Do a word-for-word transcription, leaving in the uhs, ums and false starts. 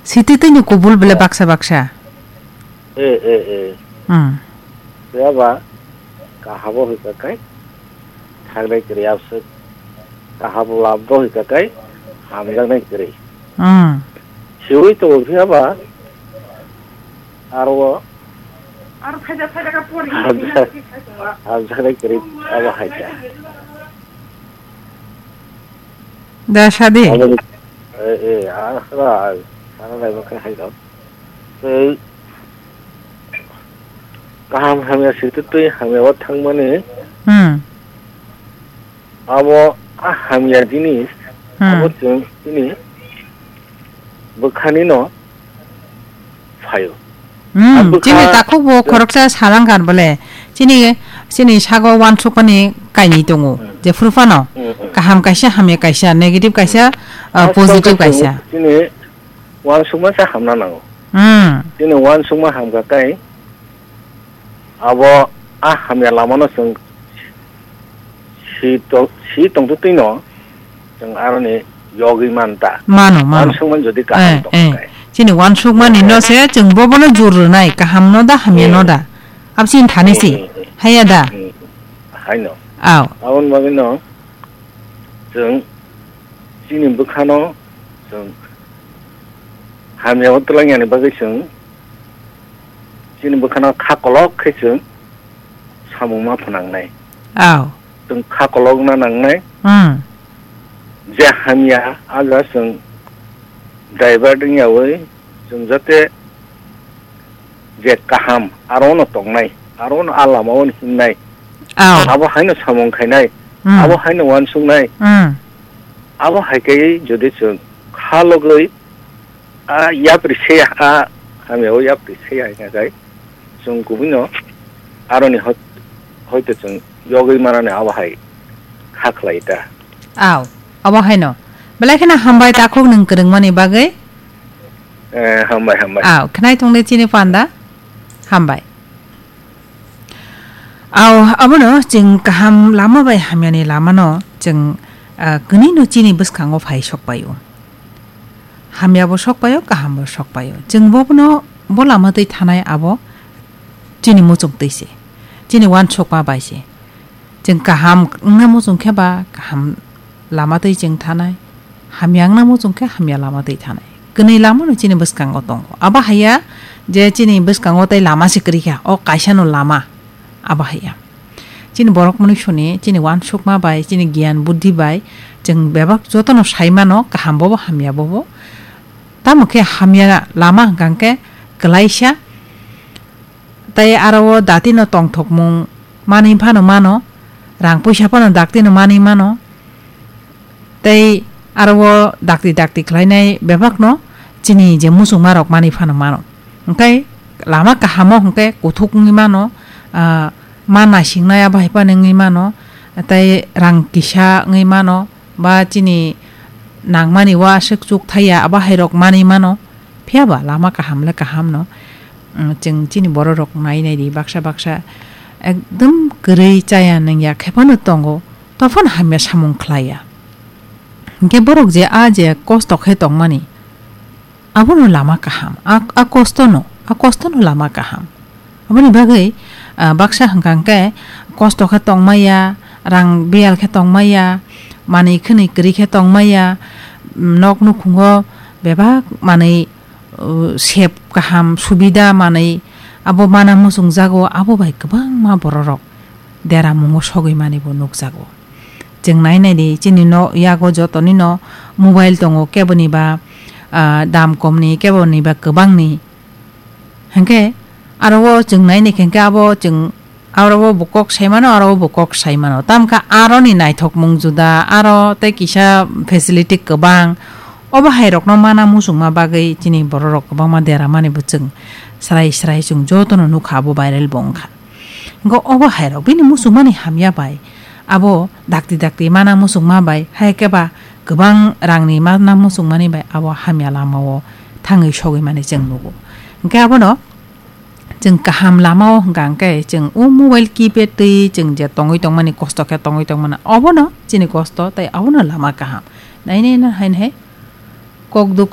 Sititwini kubul bele baksa baksa. Eh, eh, eh. Hmm. Phiya ba kahabo hoi kakai thangnai kwrwi abswk. Kahabo labdo hoi kakai hamjaknai kwrwi. Hmm. Siwi tongo phiya ba aro o Aro phaida phaida ka pori. Hamjaknai kwrwi abo hai kha. Da sadi. Abo, eh, eh, ah, ah, sana lai bakha hai dong. Tei kaham hamya sititwi hamya o thangmani. Hmm. Abo a hamya jinis, Hmm. abo chwng chini bwkhani no phaio. Hmm, A bwkha chini takhuk bo chwng khoroksa salang kan bole. Chini, chini sago uansukmani kainwi tongo. Hmm. Jephuru phano Hmm, hmm. kaham kaisa, hamya kaisa, negative kaisa, uh, A positive chwng kaisa. Chini uansukma sa hamna nango. Hmm. Chini uansukma hamkha kai abo a hamya lamano chwng si to-, si tongtwtwino chwng aroni yogwi man ta. Mano, mano. Uansukmani jodi kaham Eh, tong eh. khe. Chini uansukmani Eh. no se chwng bobono jur rwnai, kaham no da, hamya no Eh. da. Absini thani Eh, si, eh, eh. haya da. Eh, haino. Aw. Aboni bagwino chwng chini bwkhano chwng hamya o twlangyani bagwi chwng chini bwkhano kha kolok khe chwng samung ma phnangnai. Aw. Chwng kha kolokna nangnai. Hmm. Je hamya, a ja chwng divert wngyawi chwng jate je kaham, aro no tongnai, aro no a lama o hinnai. Aw. Abo haino samung khainai, Hmm. abo haino uansuknai. Hmm. Abo hai khe jodi chwng kha logwi a yapri se ya, a hamya o yapri se ya hingkha khe chwng kubui no aroni hot-, hoito chwng yogwi manani abo hai kha khlai ta. Aw, abo haino. Belai kheno hambai takhuk nwng kwrwngmani bagwi. Eh, hambai, hambai. Aw, khnai tongde chini panda. Hambai. Aw, abono chwng kaham lama bai hamyani lamano chwng, ah, kwnwi no chini bwskango phai sokpaio. Hamya bo sokpaio, kaham bo sokpaio. Chwng bobono bo lama twi thanai abo chini muchung twi se. Chini uansukma bai se. Chwng kaham wngna muchung khe ba kaham lama twi chwng thanai, hamya wngna muchung khe hamya lama twi thanai. Kwnwi lama no chini bwskango tongo. Abo haiya je chini bwskango tei lama se kwrwi kha, o kaisa no lama. Abo haiya. Chini borok mwnwi soni, chini uansukma bai, chini giyan buddhi bai, chwng bebak jotono sai mano, kaham bobo, hamya bobo. Tamo khe hamya lama hwnkha khe kwlaisa, tei aro o dati no tongthokmung manwi phano mano, rang puisa phano dakti no manwi mano, tei aro o dakti dakti khlainai bebak no chini je muchungma rok manwi phano mano. Hwnkhe lama kaham o hwnkhe kuthuk wngwi mano, ah, ma naisingnai abo hai phano wngwi mano, tei rang kisa wngwi mano, ba chini nangmani o aswk chuk thaiya, abo hai rok manwi mano. Phiya ba lama kaham le kaham no, mm, chwng chini borok rok nai nai di, baksa baksa ekdom kwrwi chaya nungya khe phano tongo, tophano hamya samung khlaiya. Hinkhe borok je a je kosto khe tongmani, abono lama kaham, a, a kosto no, a kosto no lama kaham. Aboni bagwi, ah, baksa hwnkha hwnkhe kosto khe tongmaya, rang biyal khe tongmaya, manwi khwnwi kwrwi khe tongmaya, mm, nok nukhungo bebak manwi, uh, sep kaham subida manwi abo mana muchungjago, abo bai kwbangma bororok deramungo sogwi manibo nukjago. Chwng nai nai di, chini no yago jotonino mobile tongo, keboni ba, ah, dam komni, keboni ba kwbangni. Hinkhe aro o chwng nai nai khe, hinkhe abo chwng aro o bo kok sai mano, aro o bo kok sai mano. Tamkha aroni naithokmung juda, aro tei kisa facility kwbang. Obo hai rokno mana muchungma bagwi chini bororok kwbangma deramani bo chwng srai srai chwng jotono nukha, abo viral bo wngkha. Hinkhe obo hai rok bini muchungmani hamya bai abo dakti dakti mana muchungma bai, hai khe ba kwbang rangni mana muchungmani bai abo hamya lamao thangwi sogwi mani chwng nugo. Hinkhe abono chwng kaham lamao hwnkha hinkhe chwng o mobile keypad twi chwng je tongwi tongmani, kosto khe tongwi tongmani, obono chini kosto tei abono lama kaham. Nai nai no hai hai kok duk